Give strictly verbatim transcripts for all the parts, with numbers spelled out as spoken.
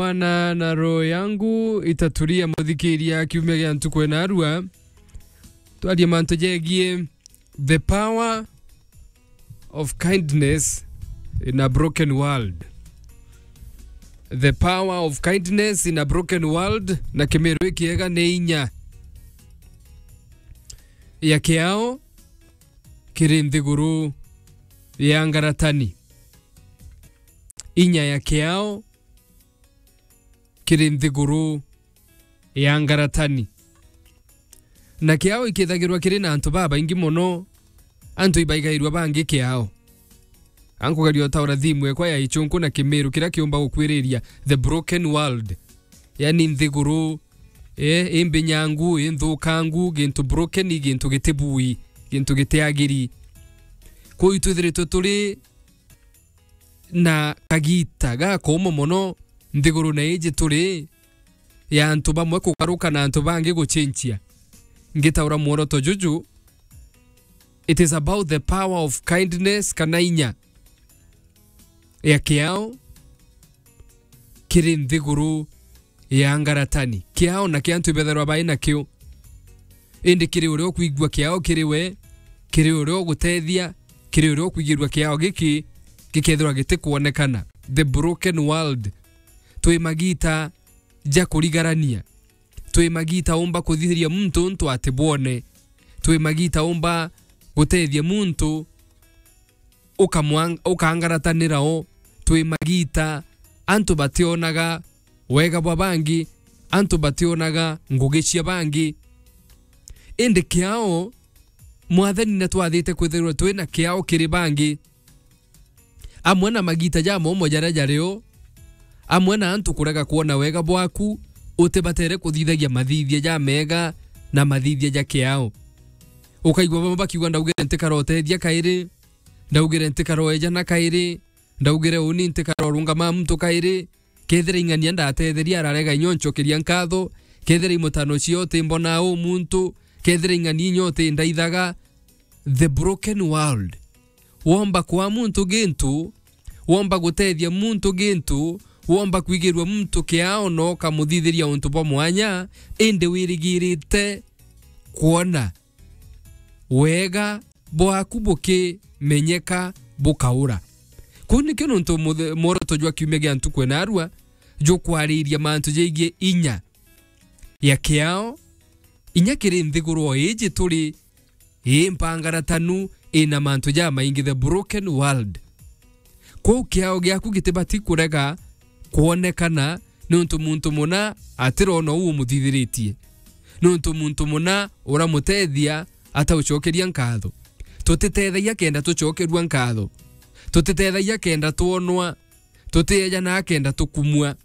Bwana na roho yangu itatulia, muthikiria kiumia gia ntuku ena arua. Twarie mantu jegie the power of kindness in a broken world. The power of kindness in a broken world, na Kimiru ikiega ni inya ya kiao kiri nthiguru ya ngaratani. Inya ya kiao kiri nthiguru ya ngaratani. Na kiao ikithagirwa kiri na antu babaingi mono, antu ibaigairua bangi kiao. Ankugeria utaura thimu ekwa ya ichunku na Kimiru, kiria kiumba gukwiriria the broken world, yani nthiguru, eh, imbinyangu, inthukangu, gintu broken, gintu gitibui, gintu gitiagiri. Kuu itwithiritwe turi na kagita gakomo mono nthigurune iji turi, ya antu bamwe kugaruka na antu bangi guchenchia. Ngitaura mworoto juju, it is about the power of kindness, kana inya ya kiao kiri nthiguru ya ngaratani. Kiao na kia antu ibetherwa bai nakio, indi kiri uria ukwigua kiao kiri we, kiri uria ugutethia, kiri uria ukwigirua kiao giki gikethirwa gitikwonekana. The broken world. Twi magita ja kurigarania. Twi magita umba kuthithiria muntu untu atibwone. Twi magita umba gutethia muntu ukamwang-, ukangaratanira o. Twi magita antu bationaga wega bwa bangi, antu bationaga ngugi cia bangi. Indi kiao, Mwathani natwathite kwithirwa twina kiao kiri bangi. Amwe na magita jamomo jaria jari o, amwe na antu kurega kwona wega bwaku, utibatere kuthithagia mathithia jamega na mathithia ja kiao. Ukaigua bamwe bakiuga, "Ndaugire ntikara utethia kairi, ndaugire ntikara ejana kairi, ndaugire uni ntikara urungama muntu kairi." Kethira ing'ania ndatetheria, ararega inyo ncokeria nkatho. Kethira imutano cio timbona u muntu, kethira ing'ania inyo tindaithaga. The broken world. Womba kwa muntu gintu, womba gutethia muntu gintu, womba kwigirua muntu kiao na ukamuthithiria untu bwa mwanya, indi wirigirite kwona wega bwaku bukimenyeka bukaura. Kuu nikio nuntu muthe-, mworoto jwa kiumia gia ntuku ena arua jukwariria mantu jegie inya ya kiao, inya kiri nthiguru o iji turi, ii mpangaratanu, ina mantu jamaingi, the broken world. Kwou kiao giaku gitibati kurega kwonekana, niuntu muntu muna atirona uu umuthithiritie, niuntu muntu muna uramutethia ataucokeria nkatho. Tutitethagia kenda tucokerua nkatho, tutitethagia kenda twonwa, tutiejana kenda tukumua.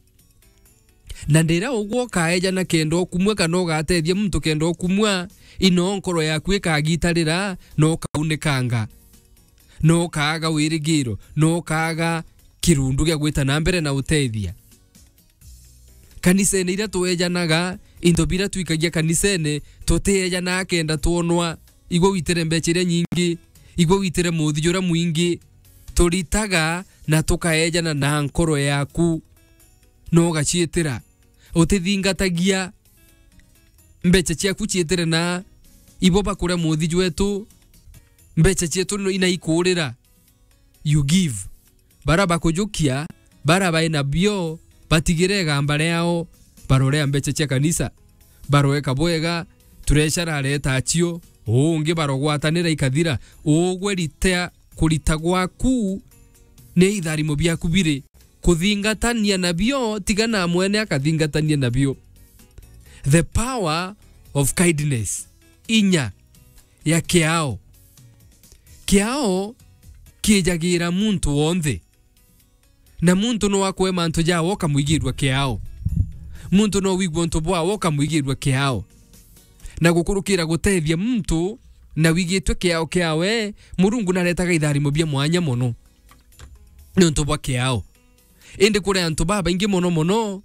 Na ndira ugwe ukaejana kenda ukumua, kana ugatethia muntu kenda ukumua, ino nkoro yaku ikagitarira na ukaunikanga, na ukaaga wirigiro, na ukaaga kirundu gia gwita na mbere na utethia. Kanisene iria tuejanaga, into biria twikagia kanisene, tutiejana kenda twonwa. Igwe witire mbecha iria nyingi, igwe witire muthi juria mwingi, turitaga na tukaejana na nkoro yaku, na ugaciitira. Utithingatagia mbecha ciaku ciitire na ibo bakuria muthi jwetu, mbecha cietu no ina ikurira. You give. Bara bakujukia, bara bai nabio, batigire igamba riao, barorea mbecha cia kanisa, baroeka bwega, turecharareta acio, ungi barogwatanira ikathira, ugwe ritea kurita gwaku ni itharimo biaku biri. Kuthingatania nabio, tiga na mwene akathingatania nabio. The power of kindness. Inya ya kiao. Kiao kiijagira muntu wonthe. Na muntu no akwe mantu jawe ukamwigirua kiao. Muntu no wigua untu bwawe ukamwigirua kiao. Na gukurukira gutethia muntu na wigitwe kiao kiawe, Murungu naretaga itharimo bia mwanya mono niuntu bwa kiao. Indi kuri antu babaingi mono mono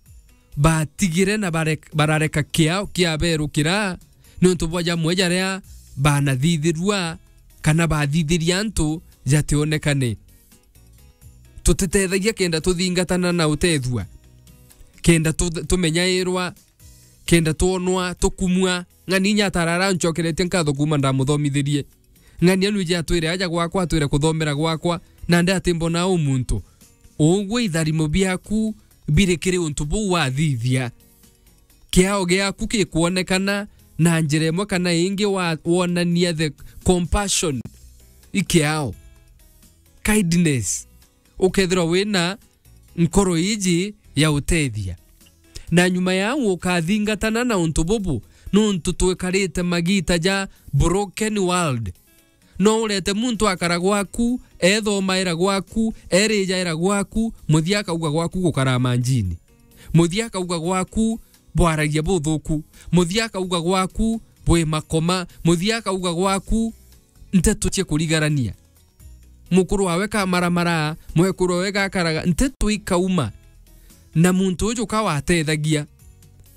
batigire na bare-, barareka kiao kiaberukira niuntu bwa jamwe jaria banathithirua kana bathithiria antu jationekane. Tutitethagia kenda tuthingatana na utethua. kenda tu-, tumenyairwa, kenda twonwa, tukumua. Ng'ani inya atarara ancokeretie nkatho kuuma ndamuthomithirie. Ng'ani anu ije atwire aja gwakwa, atwire kuthomera gwakwa, nandi atimbona u muntu. Ugwe itharimo biaku biri kiri untu buu wathithia. Kiao giaku gikwonekana na njira imwe kana ingi wa-, wonania the compassion. I kiao. Kindness. Ukethirwa wina nkoro iji ya utethia. Na nyuma ya au ukathingatana na untu bubu, nuntu twikarite magita ja broken world. No urete muntu akara gwaku, ethomaira gwaku, erijaira gwaku, muthia akauga gwaku gukara manjini. Muthia akauga gwaku bwaragia buthuku. Muthia akauga gwaku bwi makoma. Muthia akauga gwaku nteto cia kurigarania. Mukuru wawe kamaramara, mwekuru wawe gakaraga, nteto ikauma. Na muntu uju ka watethagia,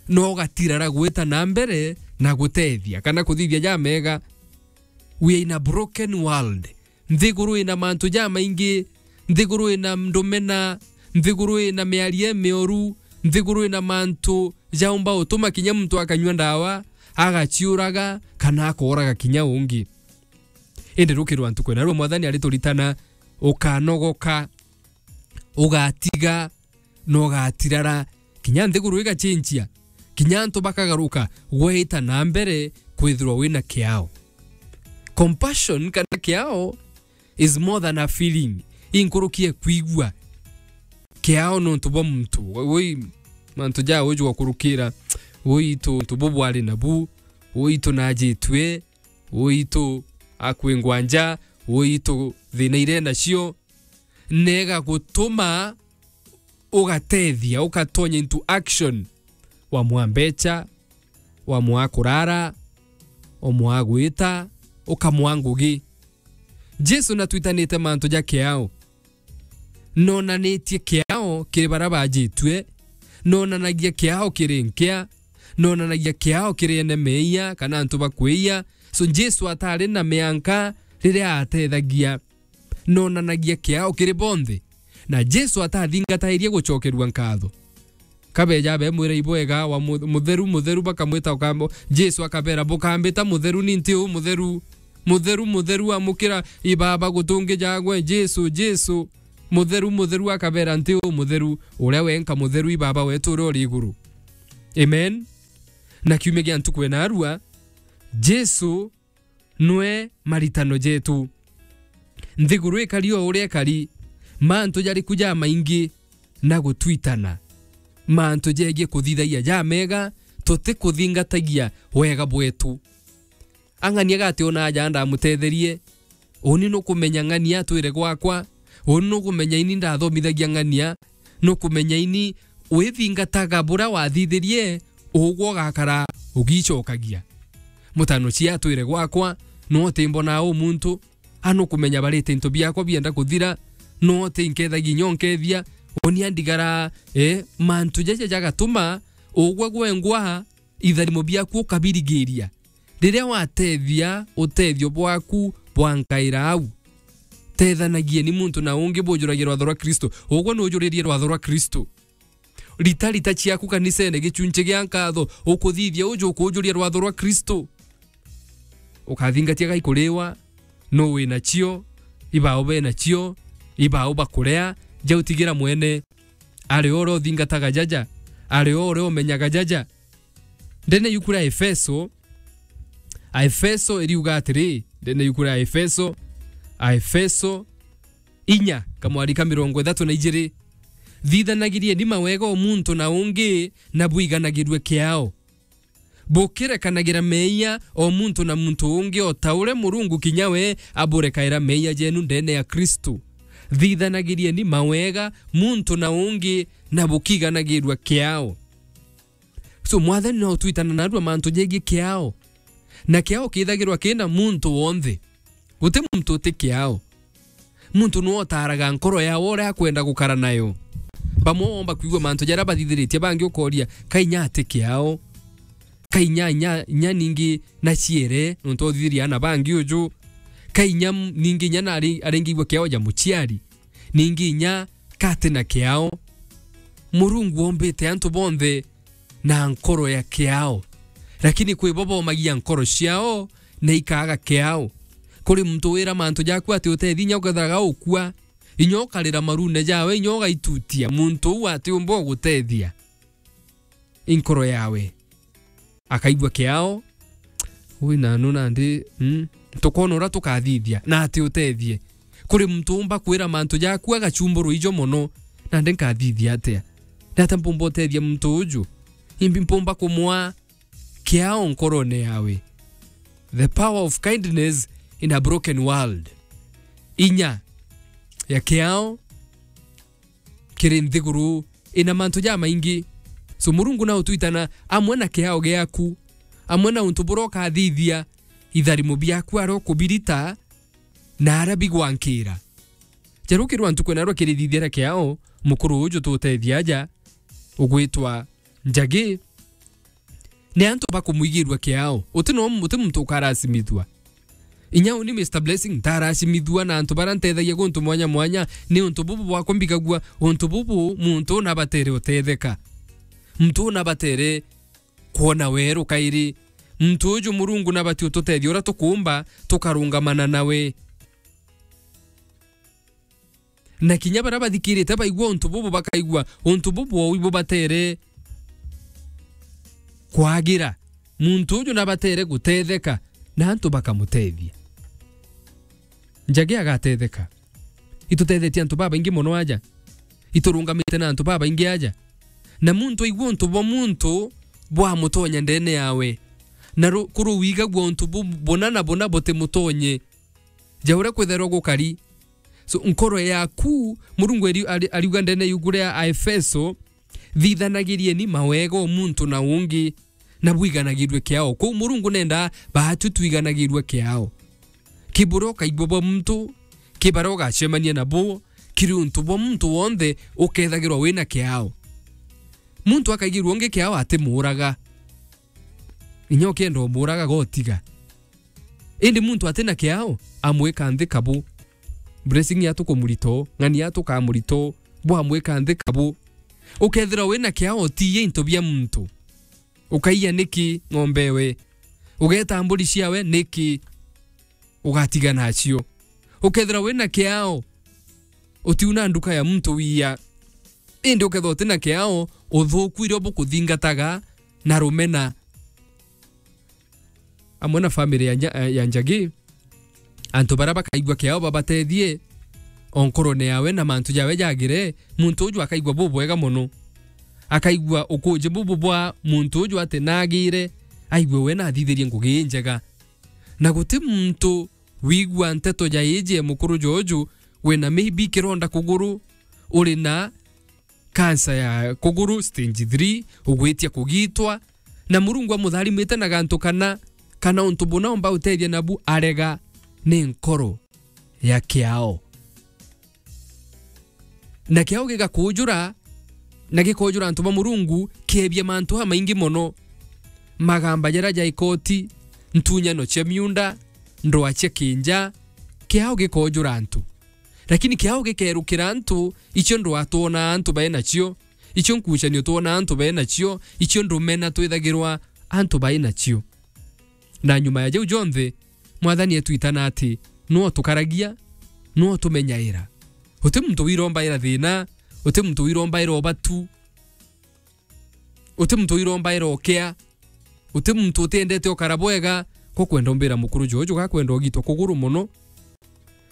no ugatirara gwita na mbere na gutethia, kana kuthithia jamega. We are in a broken world. Nthiguru ina mantu jamaingi, nthiguru ina ndumena, nthiguru ina miario imioru, nthiguru ina mantu jaumba utuma kinya muntu akanyua ndawa, agaciuraga, kana akooraga kinya ungi. Indi rukirwa ntuku ina rua Mwathani arituritana, ukanogoka, ugatiga, na ugatirara, kinya nthiguru igacenjia, kinya antu bakagaruka, gweta na mbere kwithirwa wina kiao. Compassion kana kiao is more than a feeling. Inkuruki e kwigua. Kiao nontu bwa muntu. Woi, mantu ja uju wakurukira. Woi, tu, tu bubwari nabu. Woi, tu najitue. Woi, tu akwingwa nja. Woi, tu thina ire nacio. Nega gutuma ugatethia, ukatonya into action. Wamwaa mbecha, wamwaa kurara, wamwaa gwita, ukamwaa ngugi. Jesu natwitanite mantu ja kiao. Nonanitie kiao kiri baria bajitue, nonanagia kiao kiri nkia, nonanagia kiao kiri ene meeyia kana antu bakweeyia. So Jesu atari na mianka riria atethagia. Nonanagia kiao kiri bonthe. Na Jesu atathingatairie gucokerua nkatho. Kabeja bemwira ibwega wa mu-, mutheru, mutheru, bakamwita ukambo. Jesu akabera, "Bukambita mutheru, ni nti u mutheru? Mutheru, mutheru, amukira ibaba gutungi jagwe, Jesu, Jesu." Mutheru, mutheru, akabera, "Nti u mutheru, uria wenka mutheru, ibaba wetu uria uri iguru." Amen. Na kiumia gia ntuku ena arua, Jesu nwe maritano jetu. Nthiguru ikari o uria ikari, mantu jariku jamaingi na gutwitana. Mantu jegie kuthithagia jamega, tutikuthingatagia wega bwetu. Ang'ania gati ona aja ndamutetherie, uni nukumenya ng'ania atwire gwakwa, uni nukumenya ini ndathomithagia ng'ania, nukumenya ini withingataga buria wathithirie, ugwe ugakara ugicokagia. Mutano cia atwire gwakwa, no utimbona u muntu, a nukumenya barite into biakwa bienda kuthira, no utinkethagia inya unkethia, uni andigara, eh, mantu jaja jagatuma ugwe gwengwa itharimo biaku ukabirigiria. Riria watethia utethio bwaku bwankaira au, tethanagieni muntu na ungi bujuragie rwatho rwa Kristo. Ugwe nujuririe rwatho rwa Kristo. Rita rita ciaku kanisene, gichunchi gia nkatho, ukuthithia uju ukujuria rwatho rwa Kristo. Ukathingatia gai kuriwa, nu wi nacio, ibao be nacio, ibao bakurea, jau tigira mwene. Ari o uria uthingataga jaja, ari o uria umenyaga jaja. Ndene yuku ria Efeso, Aefeso iriuga atiri, ndene yuku ria Aefeso, Aefeso inya, kamwari ka mirongo ithatu na ijiri, "Thithanagirieni mawega o muntu na ungi, na bwiganagirue kiao. Bukirekanagira meeyia o muntu na muntu ungi, o ta uria Murungu kinya we aburekaira meeyia jeenu ndene ya Kristu. Thithanagirieni mawega muntu na ungi, na bukiganagirua kiao." So, Mwathani no utwitana narua mantu jegie kiao. Na kiao kithagirwa kina muntu wonthe. Guti muntu uti kiao. Muntu nwe utaraga nkoro yawe uria akwenda gukara nayo. Bamwe womba kwigua mantu jaria bathithiritie, bangi ukoria, "Ka inya ati kiao? Ka inya, inya, inya ningi naciere, nontu uthithiria ana bangi uju? Ka inya m-, ningi inya nari-, aringigua kiao ja muciari? Ningi inya ka ati na kiao?" Murungu ombite antu bonthe na nkoro ya kiao, lakini kwi bo bomagia nkoro ciao na ikaaga kiao. Kuri muntu wira mantu jaku ati utethia, inya ukethiraga ukua, inya ukarira marune jawe, inya ugaitutia, muntu uu atiumba gugutethia. I nkoro yawe. Akaigua kiao. Ui nanu nandi, mm, tukoona uria tukathithia na ati utethie. Kuri muntu umba kwira mantu jaku agachumburwa ijo mono, nandi nkathithia atia? Ni atia mpumba utethia muntu uju? Imbi mpumba kumwaa kiao nkorone yawe? The power of kindness in a broken world. Inya ya kiao kiri nthiguru ina mantu jamaingi. So, Murungu na utwitana amwe na kiao giaku, amwe na untu buria ukathithia, itharimo biaku aria ukubirita na aria bigwankira. Jarukirwa ntuku na rukirithithia kiao, mukuru uju tutethia aja, ugwitwa Njagi, ni antu bakumwigirua kiao. Uti no, uti muntu ukaracimithua. Inya uni Mister Blessing ntaracimithua na antu baria ntethagia guntu mwanya mwanya, ni untu bubu bwakwa mbigagua, untu bubu muntu nabatere utetheka. Muntu nabatere kwona weru kairi. Muntu uju Murungu nabati ututethia uria tukumba tukarungamana nawe. Na kinya baria bathikirite baigua untu bubu, bakaigua untu bubu ou ibubatere kwagira. Muntu uju nabatere gutetheka, na antu bakamutethia. Njagi agatetheka. Itutethetie antu babaingi mono aja. Iturungamite na antu babaingi aja. Na muntu aigua untu bwa muntu bwamutonya ndene yawe. Na ru-, kuru wigagua untu bu-, buna na buna butimutonye. Ja uria kwithairwa gukari. So, nkoro yaku, Murungu ari-, ari-, ariuga ndene yugu ria Aefeso, "Thithanagirieni mawega o muntu na ungi, na bwiganagirue kiao." Kou Murungu nenda baatu twiganagirue kiao. Ki buria ukaigua bwa muntu, ki baria ugacemania nabo, kiri untu bwa muntu wonthe ukethagirwa wina kiao. Muntu akaigirua ungi kiao atimuuraga. Inya ukienda umuuraga, gotiga. Indi muntu atina kiao, amwika nthi kabu. Blessing yatu kumurito, ng'ani yatu kamurito, bwamwika nthi kabu. Ukethira wina kiao, utiie into bia muntu. Ukaiya niki ng'ombe ewe? Ugeta mburi ciawe niki? Ugatiga nacio. Ukethira wina kiao, utiuna nduka ya muntu wiya. Indi ukethira utina kiao, uthuku irio bukuthingataga na rumena. Amwe na family ya Nja-, ya Njagi, antu baria bakaigua kiao babatethie o nkorone yawe na mantu jawe jagire, muntu uju akaigua bubwega mono. Akaigua ukuji bubu bwa muntu uju ati nagire, aigue we nathithirie ngugi injega. Na guti muntu wigua nteto ja iji e mukuru joju, wina maybe kironda kuguru, uri na kansa ya kuguru stage three, ugwitia kugitwa, na Murungu amutharimite na gantu kana, kana untu buna umba utethia nabu arega, ni nkoro ya kiao. Na kiao gigakujura, na gikojura antu ba Murungu, kiebia mantu amaingi mono. Magamba jaria ja ikoti, ntunyano cia miunda, ndwaa cia kinja, kiao gikojura antu. Lakini kiao gikerukira antu, icio ndwaa twonaa antu bai nacio, icio nkucanio twonaa antu bai nacio, icio ndumena twithagirwa antu bai nacio. Na nyuma ya jau jonthe, Mwathani etwitana ati, nwe utukaragia, nwe utumenyaira. Uti muntu wirombaira thina, uti muntu wirombaira ubatu, uti muntu wirombaira ukea, uti muntu utiendete ukara bwega. Ko kwenda umbira mukuru jojo gakwenda ugitwa kuguru mono.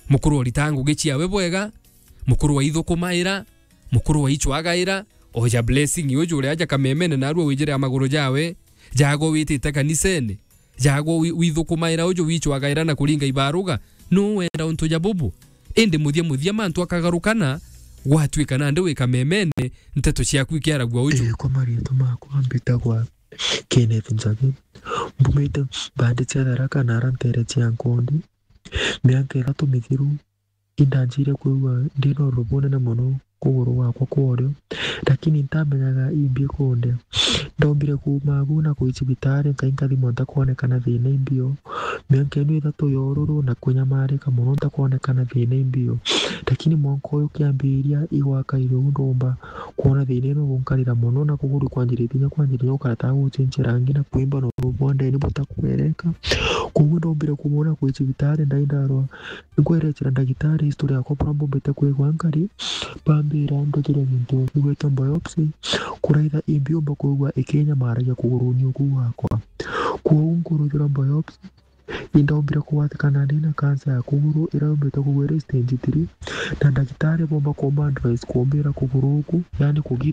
Mukuru orita ngugi ciawe bwega, mukuru waithukumaira, mukuru waichwagaira, oja Blessing uju uria aja kamemene narua wijire a maguru jawe, jago witite kanisene, jago wi-, withukumaira uju wichwagaira na kuringa ibaruga, nu wenda untu ja bubu? Indi muthia muthia mantu akagarukana, gwatwika nandi wi kamemene, nteto ciaku ikiaragua uju. Ii, kwa marietwa makwa mbitagwa Kenneth Njagi. Mbumite bandi cia Tharaka na ara ntere cia Nkondi. Miaka ithatu mithiru, indanjire kwigua ndina ururu bunene mono kuguru gwakwa kwa urio, lakini ntamenyaga imbi ikundia. Ndombire kuuma agu na kwi cibitari, nkai nkathimwa ntakwonekana thina imbio. Miaka ino ithatu ya ururu na kunyamarika mono ntakwonekana thina imbio. Lakini mwanka uyu kiambiria igwakaire uu ndomba kwona thina ino gunkarira mono, na kuguru kwanjiritie kinya kwanjiriria gukara ta gucenjia rangi na kwimba na ururu bwa ndeni butakwereka. Koguo ndombire kumwona kwi cibitari, ndai ndarwa. Nkwerecera ndagitari history yakwa buria mbombete kwigua nkari, bambira ndujirwe gintu kigwitwa biopsy, kuraitha imbiumba kwigua ikinyamaragia kuguruni uku gwakwa. Kwou nkurujirwa biopsy, indombire kugwatikana ndi na cancer ya kuguru iria yumbite kwigua iri stage three, na ndagitari bomba kumba advice kumbira kuguru uku, yani kugita